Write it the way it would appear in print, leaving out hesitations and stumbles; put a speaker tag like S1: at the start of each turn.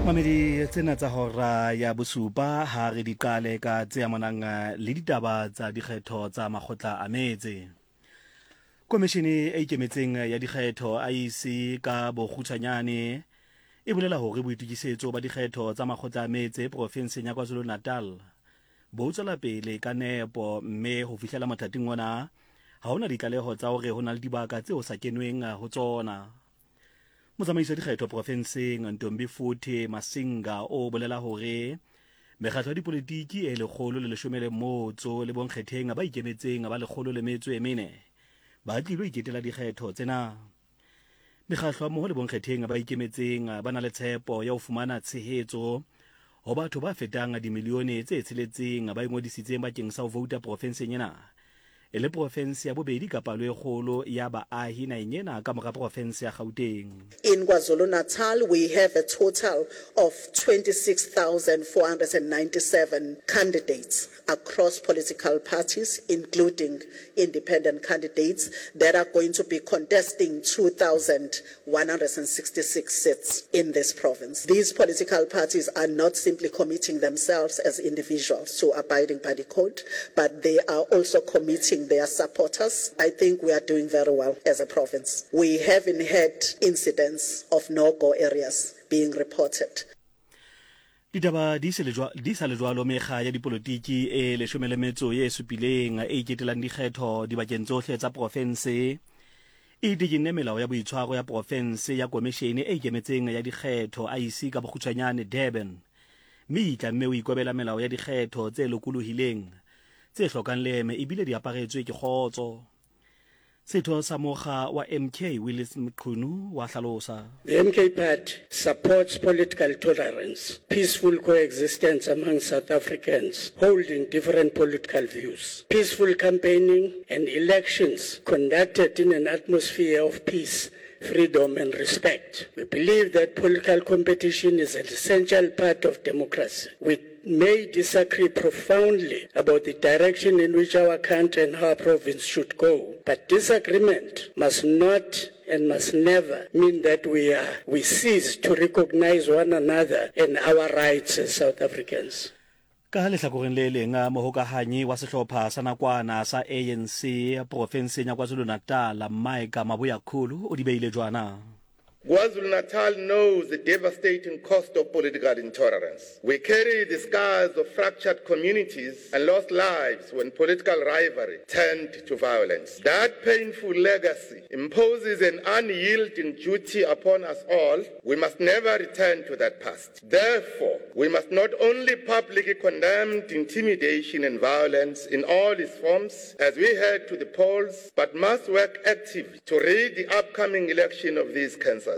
S1: Mamedi tsena tsa hora ya bosupa ha re di qale ka tse amanang le ditaba tsa dikgetho tsa makgotla a metse. Komishene e ikemetseng ya dikgetho IEC ka bokgutshwanyane e bolela hore boitokisetso ba dikgetho tsa makgotla a metse profenseng ya KwaZulu-Natal bo tswela pele ka nepo mme ho fihlela mothating ona ha hona ditlaleho tsa hore ho na le dibaka tseo sa kenweng ho tsona. Motsamaisi wa dikgetho profenseng Ntombifuthi Masinga o bolela hore mekgatlo ya dipolitiki e 115 le bonkgetheng ba ikemetseng ba 104 ba tlilo iketela dikgetho tsena. Mekgatlo mmoho le bonkgetheng ba ikemetseng ba na le tshepo ya ho fumana tshehetso ho batho ba fetang dimilione tse tsheletseng ba ingodisitseng bakeng sa ho vouta profenseng ena e le profense ya bobedi ka palo e kgolo ya baahi naheng ena ka mora profense ya Gauteng.
S2: In KwaZulu-Natal we have a total of 26,497 candidates across political parties including independent candidates that are going to be contesting 2,166 seats in this province. These political parties are not simply committing themselves as individuals to abiding by the code, but they are also committing their supporters. I think we are doing very well as a province. We haven't had incidents of no-go areas being reported.
S1: Ditaba di se le di sa le jwalo mekga ya dipolotiki e leshome le metso ye supileng e iketelang dikgetho dibakeng tsohle tsa profense e dikinne melao ya boitshwaro ya profense ya komishene e ikemetseng ya dikgetho IEC ka bokgutshwanyane Durban mme e itlamme ho ikobela melao ya dikgetho tse lokolohileng tse hlokang leeme ebile di aparetswe ke kgotso. Setho sa mokga wa MK Willies Mchunu wa hlalosa.
S3: The MK Party supports political tolerance, peaceful coexistence among South Africans holding different political views, peaceful campaigning and elections conducted in an atmosphere of peace, freedom and respect. We believe that political competition is an essential part of democracy. We may disagree profoundly about the direction in which our country and our province should go, but disagreement must not and must never mean that we are we cease to recognize one another and our rights as South Africans.
S1: Ka lehlakoreng le leng, mohokahanyi wa sehlopha sa nakwana sa ANC profenseng ya KwaZulu-Natal, Mike Mabuyakhulu o di beile jwana.
S4: KwaZulu-Natal knows the devastating cost of political intolerance. We carry the scars of fractured communities and lost lives when political rivalry turned to violence. That painful legacy imposes an unyielding duty upon us all. We must never return to that past. Therefore, we must not only publicly condemn intimidation and violence in all its forms as we head to the polls, but must work actively to rid the upcoming election of these cancers.